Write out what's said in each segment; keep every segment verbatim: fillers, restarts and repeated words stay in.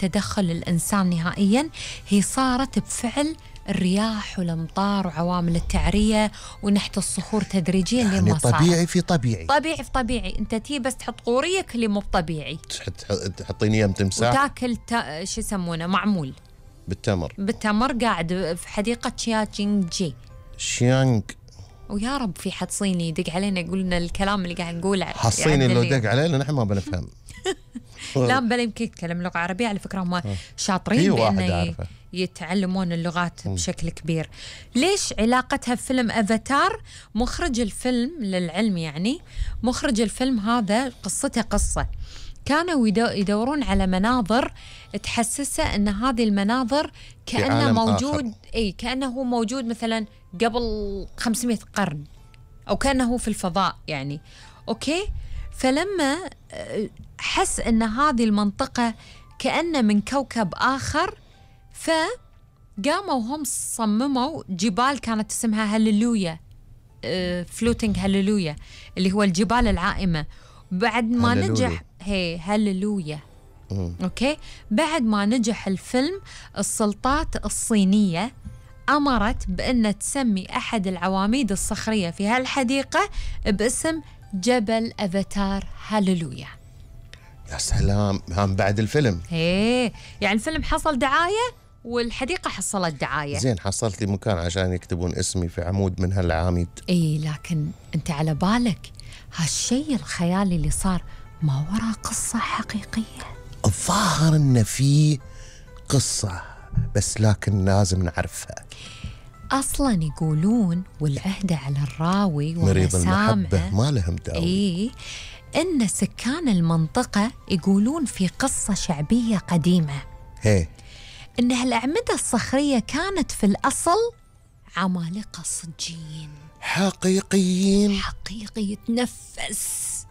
تدخل الإنسان نهائياً، هي صارت بفعل الرياح والأمطار وعوامل التعرية ونحت الصخور تدريجيا يعني لما صارت. طبيعي في طبيعي طبيعي في طبيعي. أنت تي بس تحط قوريك اللي مو طبيعي، تحطيني يم تمساح وتاكل تا... شو يسمونه معمول بالتمر. بالتمر قاعد في حديقة شيانجي. شيانج. ويا رب في حد صيني يدق علينا يقول لنا الكلام اللي قاعد نقوله. حصيني لو دق علينا نحن ما بنفهم. لا بل يمكن يتكلم لغة عربية، على فكرة هم شاطرين بأنه يتعلمون اللغات بشكل كبير. ليش علاقتها بفيلم أفاتار؟ مخرج الفيلم للعلم يعني مخرج الفيلم هذا قصته قصة كانوا يدورون على مناظر تحسسه أن هذه المناظر كأنه موجود، أي كأنه هو موجود مثلا قبل خمسمائة قرن أو كأنه في الفضاء يعني. أوكي، فلما حس أن هذه المنطقة كأنه من كوكب آخر، فقاموا هم صمموا جبال كانت اسمها هاليلويا، فلوتينج هاليلويا اللي هو الجبال العائمة. بعد ما نجح هي هاليلويا أوكي، بعد ما نجح الفيلم السلطات الصينية أمرت بأن تسمي أحد العواميد الصخرية في هالحديقة باسم جبل أفاتار هاليلويا. يا سلام، هم بعد الفيلم ايه يعني الفيلم حصل دعاية والحديقة حصلت دعاية. زين، حصلت لي مكان عشان يكتبون اسمي في عمود من هالعواميد. ايه لكن انت على بالك هالشيء الخيالي اللي صار ما وراه قصة حقيقية؟ الظاهر ان في قصة بس لكن لازم نعرفها. اصلا يقولون والعهدة على الراوي مريض المحبة ما لهم داوي. ايه إن سكان المنطقة يقولون في قصة شعبية قديمة هي إن هالأعمدة الصخرية كانت في الأصل عمالقة صجيين حقيقيين حقيقي يتنفس.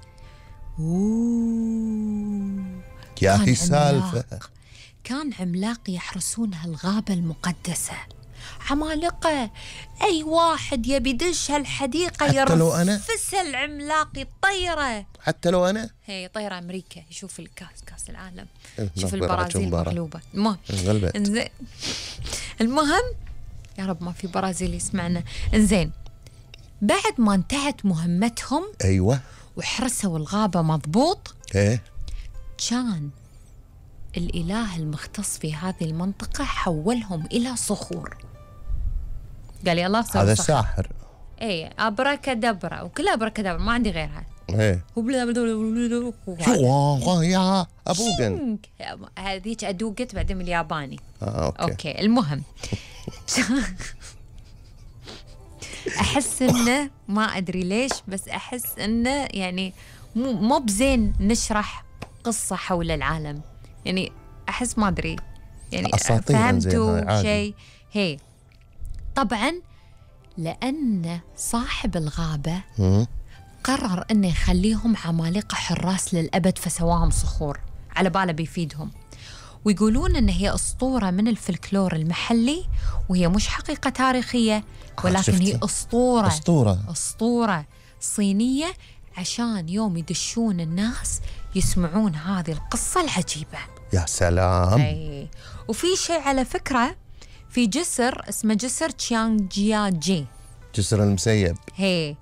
أوه. يا هي سالفة، كان عملاق يحرسون هالغابة المقدسة، عمالقة. أي واحد يبي يدش هالحديقة يرفس العملاق يطيره. حتى لو أنا هي طيرة أمريكا يشوف الكاس كاس العالم، يشوف البرازيل مغلوبة. المهم انزين المهم يا رب ما في برازيل يسمعنا. انزين بعد ما انتهت مهمتهم أيوة وحرسوا الغابة مضبوط، ايه كان الإله المختص في هذه المنطقة حولهم إلى صخور. قال يلا صار هذا صخر. ساحر. ايه ابركادبرا وكلها ابركادبرا ما عندي غيرها. ايه شو يا ابوغن هذيك ادوقت بعدين من الياباني. آه، أوكي. اوكي المهم احس انه ما ادري ليش بس احس انه يعني مو مو بزين نشرح قصة حول العالم، يعني احس ما ادري يعني فهمتوا شيء. هي طبعا لأن صاحب الغابة قرر أنه يخليهم عمالقة حراس للأبد فسواهم صخور على باله بيفيدهم. ويقولون أن هي أسطورة من الفلكلور المحلي وهي مش حقيقة تاريخية ولكن هي أسطورة أسطورة أسطورة صينية عشان يوم يدشون الناس يسمعون هذه القصة العجيبة. يا سلام. أي. وفي شيء على فكرة في جسر اسمه جسر تشيانجياجي، جسر المسيب. هي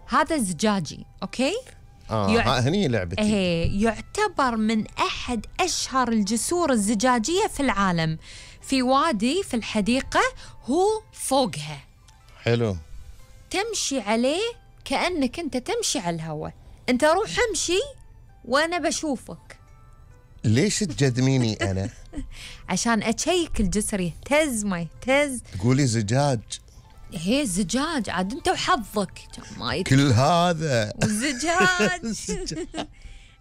هذا زجاجي أوكي. آه يع... هني لعبتي. هي يعتبر من أحد أشهر الجسور الزجاجية في العالم، في وادي في الحديقة هو فوقها. حلو. تمشي عليه كأنك أنت تمشي على الهواء، أنت روح امشي وأنا بشوفك. ليش تجدميني أنا؟ عشان أشيك الجسر يهتز ما يهتز. تقولي زجاج. هي زجاج عاد أنت وحظك ما يت... كل هذا وزجاج.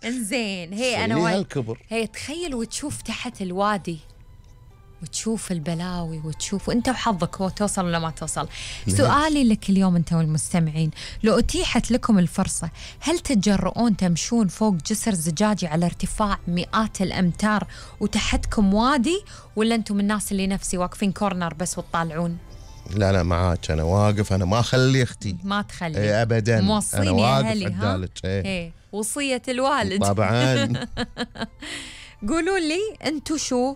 انزين هي أنا وايد هي تخيل وتشوف تحت الوادي وتشوف البلاوي وتشوف وانت وحظك هو توصل ولا ما توصل. سؤالي لك اليوم انت والمستمعين، لو اتيحت لكم الفرصة هل تتجرؤون تمشون فوق جسر زجاجي على ارتفاع مئات الامتار وتحتكم وادي، ولا انتم الناس اللي نفسي واقفين كورنر بس وتطالعون؟ لا لا معاك انا واقف، انا ما اخلي اختي. ما تخلي ايه ابدا، انا واقف عدالك. ايه. ايه وصية الوالد طبعا. قولوا لي انتو شو